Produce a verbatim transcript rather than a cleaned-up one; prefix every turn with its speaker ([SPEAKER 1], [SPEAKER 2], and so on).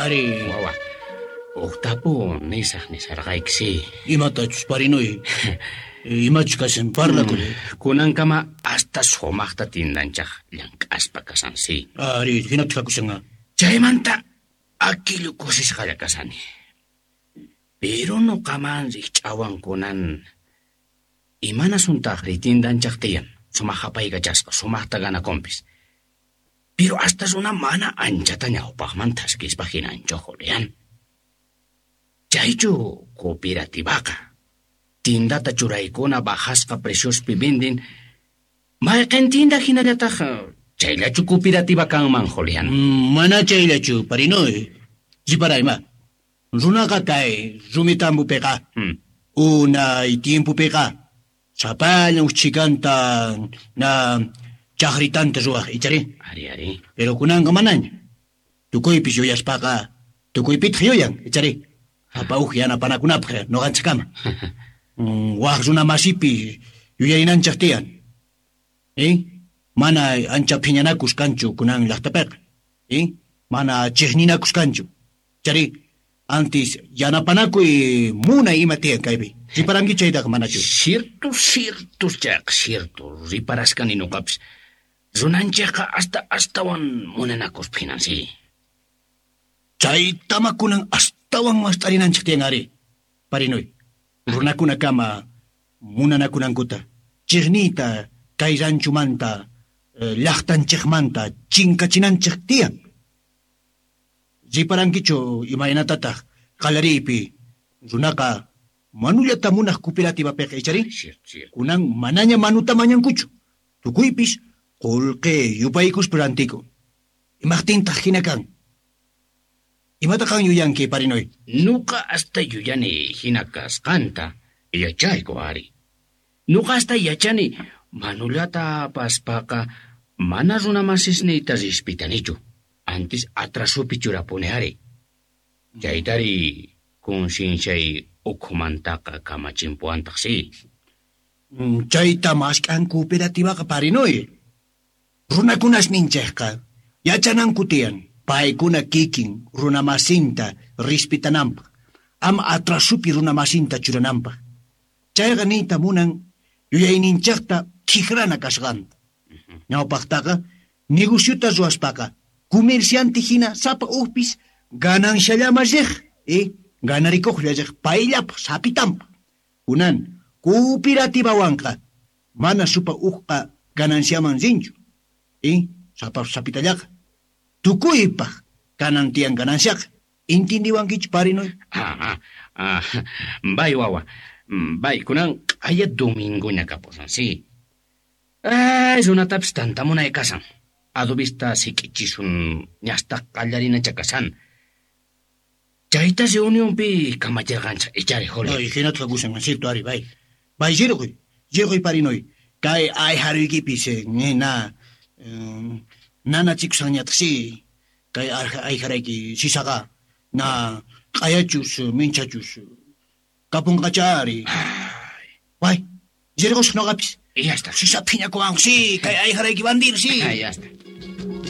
[SPEAKER 1] Ari.
[SPEAKER 2] Wawa, uqtapu nisaq nisarqayki, si.
[SPEAKER 1] Imatachus, parinuy. Imachus kasan, parlakuy.
[SPEAKER 2] Kunankama hasta sumaqta tindanchaq llank'aspa kasan, si.
[SPEAKER 1] Ari, hinataq kakushanqa.
[SPEAKER 2] Chaymanta akillu kusisqalla kasani. Pero nuqaman rikch'awan kunan imanasuntaqri tindanchaq tiyan, sumaq apaykachasqa, sumaqta ganakunpis. Pero hasta runa mana anchata ñawpaqman thaskispa hinanchu, Julián. Chaychu cooperativaqa. Tindata churaykuna bajasqa preciospi vendin. Mayqin tinda hinallataq chayllachu cooperativa kanman, Julián.
[SPEAKER 1] Mana chayllachu, parinuy. Riparayma. Runaqa kay rumitambupiqa.
[SPEAKER 2] Hmm.
[SPEAKER 1] Unay tiempopiqa. Sapallan uchikanta na chaqritanta ruwaq, ichari.
[SPEAKER 2] Ari, ari.
[SPEAKER 1] Pero kunanqa manaña. Tukuypis yuyaspaqa, tukuypitaq yuyan, ichari. Sapa uj yanapanakunapaq nuqanchikkama. Waq runa masipi yuyarinanchik tiyan. Eh? Mana ancha phiñanakus kanchu kunan llaqtapiqa. Eh? Mana chiqninakus kanchu. Chari, antes yanapanakuy munay ima tiyan kaypi. Riparanki chaytaqa manachu.
[SPEAKER 2] Cierto, cierto, chayqa cierto. Riparasqani nuqapis. Runanchikqa hasta astawan munanakuspa hinan, si.
[SPEAKER 1] Chaytama kunan astawan mast'arinanchik tiyan ari. Parinuy. Runakunakama munanakunankuta. Chiqniyta kay ranchumanta, llaqtanchikmanta chinkachinanchik tiyan. Riparankichu imaynatataq qallariypi runaqa manullata munaq cooperativapiqa, ichari?
[SPEAKER 2] Cierto, cierto.
[SPEAKER 1] Kunan manaña manuta mañankuchu. Tukuypis qullqi yupaykuspa rantiku. Imaqtintaq hina kan? Imata qan yuyanki, parinuy?
[SPEAKER 2] Nuqa hasta yuyani hina kasqanta yachayku ari. Nuqa hasta yachani manullata apaspaqa mana runamasisniyta rispitanichu. Antes atrasupi churapuni ari. Chaytari concienciay ukhumantaqa kamachimpuwantaq, si.
[SPEAKER 1] Chayta mask'an cooperativaqa, parinuy. Runakunas ninchikqa yachananku tiyan paykuna kikin runamasinta rispitananpaq, ama atrasupi runamasinta churananpaq. Chayqa niyta munan yuyayninchikta t'ikrana kasqanta. Ñawpaqtaqa negociota ruwaspaqa comerciante hina sapa ujpis gananciallama riq, eh, ganarikuqlla riq payllapaq sapitanpaq. Kunan cooperativawanqa mana supa ujqa gananciaman rinchu, eh, sapa sapitallaqa. Tukuypaq kanan tiyan gananciaqa. Intindiwankichu, parinuy?
[SPEAKER 2] Ah, ah, ah, bay wawa. Bay, kunan q'aya domingoña kapusan, si. Ay, runatapis tantamunay kasan. Adobista sik'ichisun ñasta qallarinacha kasan. Chayta reunionpi kamachirqanchik, ichari, Juli.
[SPEAKER 1] Ay, hinataq kakusan, cierto, ari, bay. Bay, rirquy, rirquy, parinuy. Kay ayharuykipis, na, nanachikusqanñataq, si. Kay ayharayki sisaqa, na, q'ayachus, minchachus, kapunqacha ari. Bay, rirqusaq nuqapis.
[SPEAKER 2] Y ya está.
[SPEAKER 1] Sisa phiñakuwan, si, kay ayharayki bandido, si.
[SPEAKER 2] Ah, ya está.